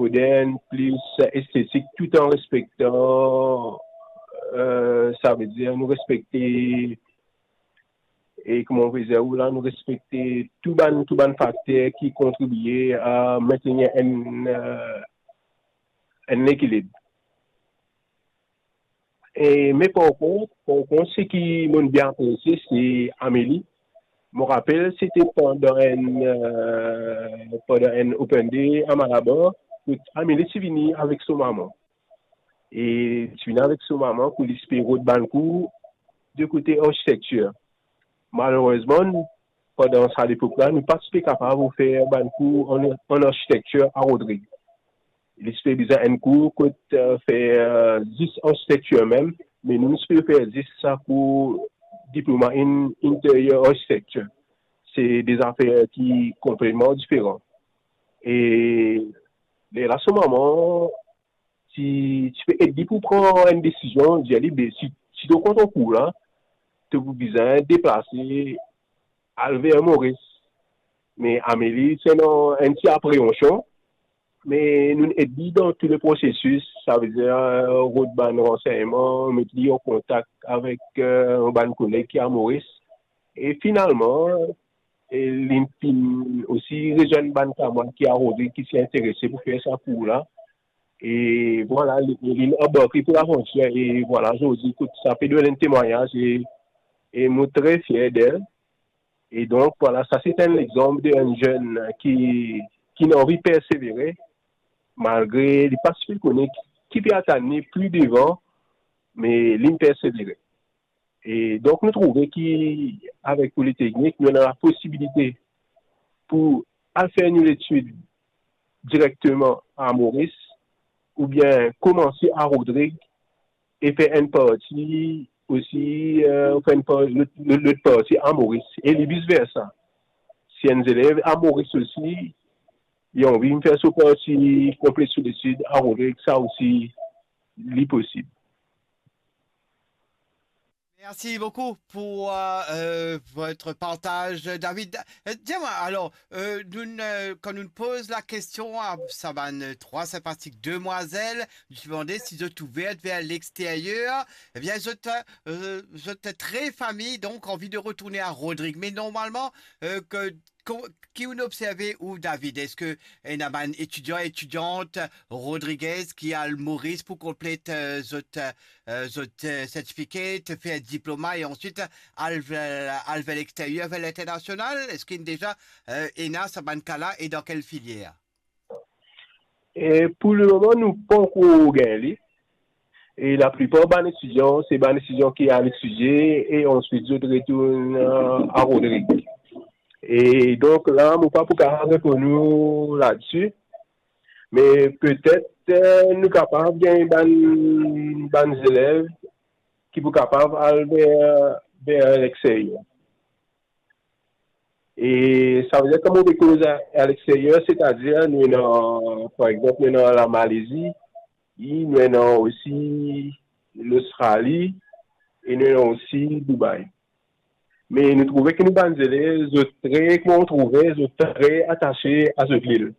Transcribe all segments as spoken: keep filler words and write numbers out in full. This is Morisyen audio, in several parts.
modern, plis estetik, tout an respektan, euh, savedir nou respekte, e kouma mo pe dir ou la, nou respekte tou bann, tou bann fakter ki kontribie a mentenir enn, euh, enn lekilib. E, me par kont, par kont, seki mo'nn bien apresie, se Amelie. Mo rapel, se te pandan enn, euh, pandan enn open day a Malabar, kot Amelie ti vini avek so mama. E ti vini avek so mama pou li ti pe rod bann kour de kote arsitektir. Malerezman, pandan sa lepok la, nou pa ti pe kapav ofer bann kour an, an arsitektir a Rodrig. Li ti pe bizin enn kour kot, euh, fer, euh, zis arsitektir mem, me nou, nou ti pe fer zis sa kour diploma in interior architecture. Se de zafer ki konpletman diferan. E lerla so mama ti, ti pe ed li pou pran enn desizion, dir li, be, si, si to kont kour la, to pou bizin deplase al ver Moris. Me Amelie ti ena enn ti apreansion, me nou ed li dan tou le prosesis, savedir, euh, rod bann ransegnman, met li an kontak avek, euh, bann koleg ki a Moris. E finalman, e li finn osi rezwenn bann kamarad ki a Rodrig ki ti interese pou fer sa kour la. E vwala, li, li anbarke pou lavantir. E vwala, zordi, kot sa pe donn enn temwagnaz e, e mo tre fier de li. E donk, vwala, sa se enn lexanp de enn zenn ki, ki ena anvi persevere, malgre li pa ti pe kone ki, ki pe atann li pli devan, me li persevere. E donk, nou trouve ki avek Politeknik, nou ena laposibilite pou al fer nou letid direkteman a Moris, oubien koumanse a Rodrig e fer enn parti osi, euh, fer enn par-, lot, lot, lot parti a Moris, e li vis versa. Si enn zelev a Moris osi, li anvi fer so parti konplet so letid a Rodrig, sa osi, li posib. Merci beaucoup pour euh, euh, votre partage, David. Euh, Dis-moi, alors, euh, nous, euh, quand nous posons la question à sa bann trois sympathiques demoiselles, nous demandons si vous êtes ouverte vers l'extérieur, eh bien, vous êtes, euh, vous êtes très famille, donc envie de retourner à Rodrigue. Mais normalement, euh, que Ko-, ki ou'nn observe ou, David? Eski ena bann etidian, etidiant Rodriguez ki al Moris pou konplet, euh, zot, euh, zot, euh, sertifikat, fer diploma e answit al, al ver lexteryer, ver linternasional? Eski deza, euh, ena sa bann ka la e dan kel filier? E pou lemoman, nou pankor gagn li. E laplipar bann etidian, se bann etidian ki al etidie e answit zot retourn, euh, a Rodrig. E donk la, mo pa pou kapav reponn ou ladsi, me petet, euh, nou kapav gagn bann, bann zelev ki pou kapav al ver, ver lexteryer. E savedir, kan mo pe koz a, a lexteryer, setadir nou ena, par exanp, nou ena Lamalezi, nou ena osi Lostrali, e nou ena osi Dubai. Me nou trouve ki nou bann zelev, zot tre, kouma ou trouve, zot tre atase a zot lil.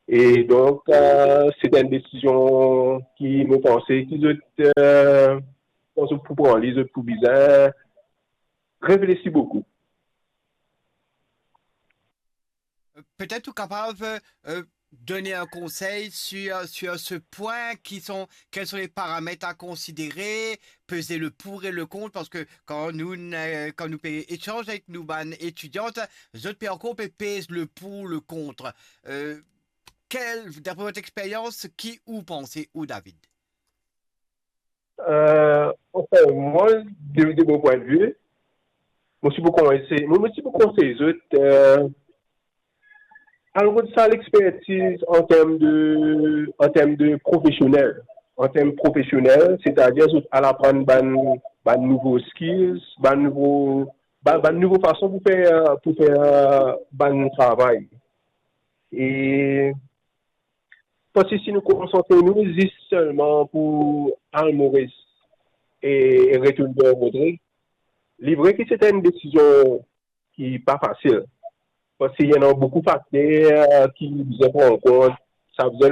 E donk, euh, se enn desizion ki, mo panse ki zot, euh, kan zot pou pran li, zot pou bizin reflesi boukou. Peut-être ou capable euh, donner un conseil sur, sur ce point, qui sont, quels sont les paramètres à considérer, peser le pour et le contre, parce que quand nous, euh, quand nous échangeons avec nos bannes étudiantes, zot pe ankor pe pez le pour, le contre. Euh, quel, d'après votre expérience, qui ou pensez ou, David? Euh, anfin, mwa, de, de mo pwin de vi, mo ti pou konsey, mo, mo ti pou konsey zot, euh, al rod sa lexpertiz an term de, an term de profesionel, an term profesionel, setadir zot al aprann bann, bann nouvo skills, bann nouvo, bann, bann nouvo fason pou fer, pou fer, euh, bann travay. E Parski si nou konsantre nou zis selman pou al Moris e, e retourn ver Rodrig, li vre ki se enn desizion ki pa fasil. Parski ena boukou fakter ki bizin pran an kont, sa bizin